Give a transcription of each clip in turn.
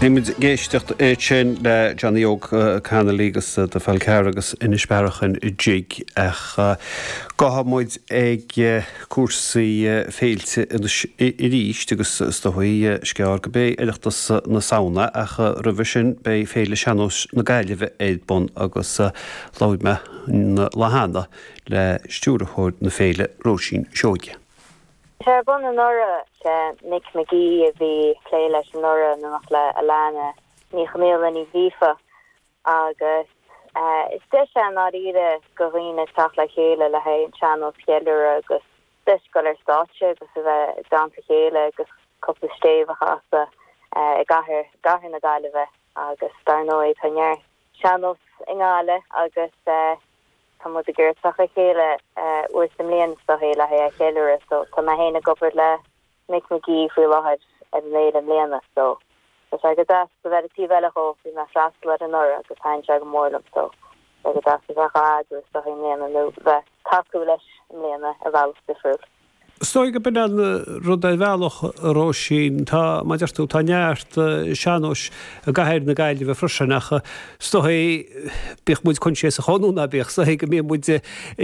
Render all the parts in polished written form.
Bhí muid ag éisteacht ansin le Johnny Óg Connolly agus The Fal Carrach agus Inis Bearachain Jig ach gabhfaidh muid ag cúrsaí féilte anois arís agus is dóigh is gearr go mbeidh Oireachtas na Samhna ach roimhe sin beidh Féile Sean-Nóis na Gaillimhe ar bun agus labhair mé an lá cheana le stiúrthóir na féile, Róisín Seoige. Bhí sé ar bun anuraidh. Sé Mick McGee a bhí ag plé leis anuraidh in éineacht le Alana Ní Chonghaile Ní Ghríofa agus is deis é i ndáiríre go dhaoine teacht le chéile le haghaidh an sean-nós a cheiliúradh agus deis dul ar stáitse agus a bheith i dteannta a chéile agus cúpla stéibh a chasadh i gcathair gcathair na Gaillimhe agus dar ndóigh tá neart sean-nós i nGaillimh agus Tá muid ag iarraidh teacht le chéile uair sa mbliain is dóichí le haghaidh é a cheiliúradh so tá mé féin ag obair le Mick McGee faoi láthair ar an fhéile i mbliana so tá sé go deas a bheith ar an taobh eile dhó, bhí mé ag freastal air anuraidh agus thaitin sé go mór liom so tá sé go deas a bheith dhá eagrú is dóichí i mbliana nó bheith tacú leis i mbliana ar bhealach difriúil. Is dóigh go b'in an rud ar bhealach, a Róisín. Tá, mar a deir tú, tá neart sean-nóis i gcathair na Gaillimhe freisin ach is dóigh, bíodh muid coinsiasach nó ná bíodh, is dóigh go mbíonn muid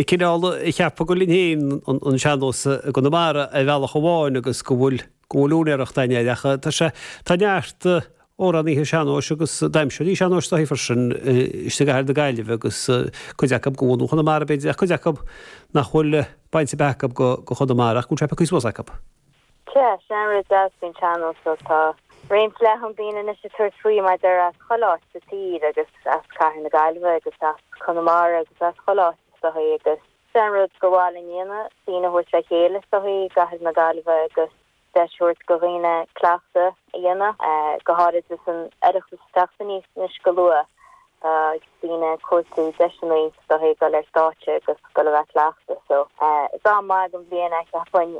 cineál ag ceapadh gur linn féin an sean-nós i gConamara ar bhealach amháin agus go bhfuil, go bhfuil úinéireacht againn air ach tá sé, tá neart amhránaithe sean-nóis agus damhsóirí sean-nóis is dóigh freisin istigh i gcathair na Gaillimhe agus cuid acu de bhunadh Chonamara b'fhéidir ach cuid acu nach bhfuil baint ar bith acu go Chonamara ach go bhfuil sé pioctha suas acu. Sea, sin an rud deas faoin tsean-nós so tá roinnt leathan daoine anois ag tabhairt faoi mar a déarfá as chuile áit sa tír agus as cathair na Gaillimhe agus as Conamara agus as chuile áit is dóigh agus sin an rud gur mhaith linn a dhéanamh, daoine a thabhairt le chéile is dóigh i gcathair na Gaillimhe agus deis a thabhairt go dhaoine cleachtadh a dhéanamh, go háirid is an Oireachtas ag teacht aníos anois go luath. Tá daoine ag cuartú deiseanna is dóichí dul ar stáitse agus dul a bheith ag cleachtadh so is am maith den bhliain é cheapfainn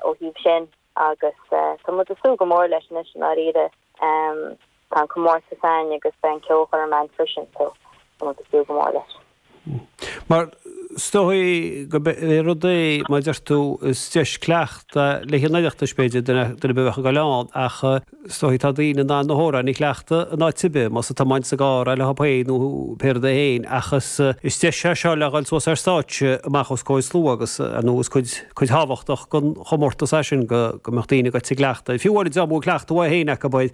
ó thaobh sin agus tá muid ag súil go mór leis anois i ndáiríre. Tá an comórtas ann agus beidh an ceolchoirm ann freisin so tá muid ag súil go mór leis. Mar is dóigh go é rud é, mar a deir tú, is deis cleachtadh le haghaidh an Oireachtais b'fhéidir, duine ar bith a bheadh ag dul ann ach is dóigh tá daoine in ann na hamhráin a chleachtadh in áit ar bith, más ag tiomáint sa gcarr é leo féin nó pé rud é féin ach is is deis é seo le dhul suas ar stáitse amach os comhair slua agus ar ndóigh is cuid cuid thábhachtach den chomórtas é sin go go mbeadh daoine ag cleachtadh. Fiú amháin dá mbeadh cleachtadh uathu féin acu air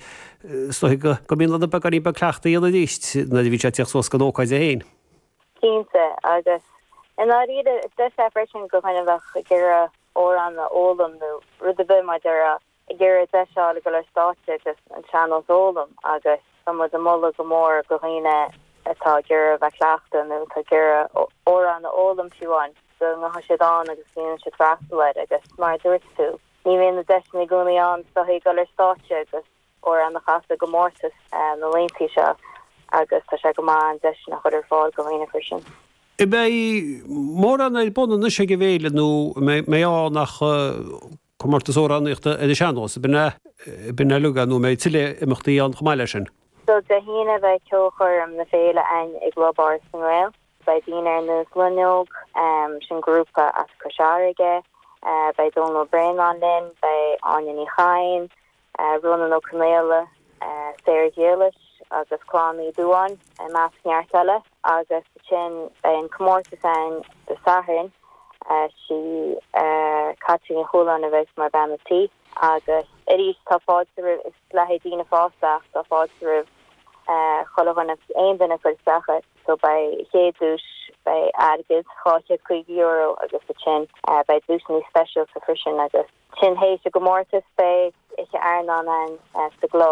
Is dóigh go mbíonn ann beagáinín beag cleachtaidh a dhéanamh arís nuair a bhíonn sé ag tíocht suas don ócáid é féin. Cinnte, agus i ndáiríre, is deis é freisin go dhuine a bheadh ag iarraidh amhrán a fhoghlaim nó rud ar bith mar a déarfá, ag iarraidh deis a fháil ag dul ar stáitse agus an sean-nós a fhoghlaim agus tá muid ag moladh go mór go dhaoine atá ag iarraidh a bheith ag cleachtadh nó atá ag iarraidh amhrán a fhoghlaim fiú amháin go ngabhfaidh siad ann agus go ndéanfaidh siad freastal air agus mar a dúirt tú, Ní bhíonn na deiseanna i gcónaí ann is dóichí dul ar stáitse agus amhrán a chasadh i gcomórtas na laethanta seo agus tá sé go maith an deis sin a chur ar fáil go dhaoine freisin. An mbeidh mórán ar bun anois ag an bhféile nó an mbeidh ann ach comórtas amhránaíochta ar an sean-nós, ab in é uilig é nó an mbeidh tuilleadh imeachtaí ann chomh maith leis sin? So Dé hAoine beidh ceolchoirm na féile ann i gClub Áras na nGael. Beidh daoine ar nós Loinneog, sin grúpa as Cois Fharraige, beidh Dónal Ó Braonáin linn, beidh Áine Ní Chadhain, Rónán Ó Conaola, Sarah Ghriallais agus Clann Uí Dúáin i measc neart eile. Agus ansin beidh an comórtas ann Dé Sathairn, sí Caitlín Ní Chualáin a bheas mar bhean a' tí. Agus arís tá fáilte roimh, is le haghaidh daoine fásta ach tá fáilte roimh chuile dhuine, aon duine ag cur isteach air. So beidh chéad duais, beidh airgead, €250 agus ansin beidh duaiseanna speisialta freisin agus ansin théis an gcomórtas beidh oíche airneáin ann sa gclub.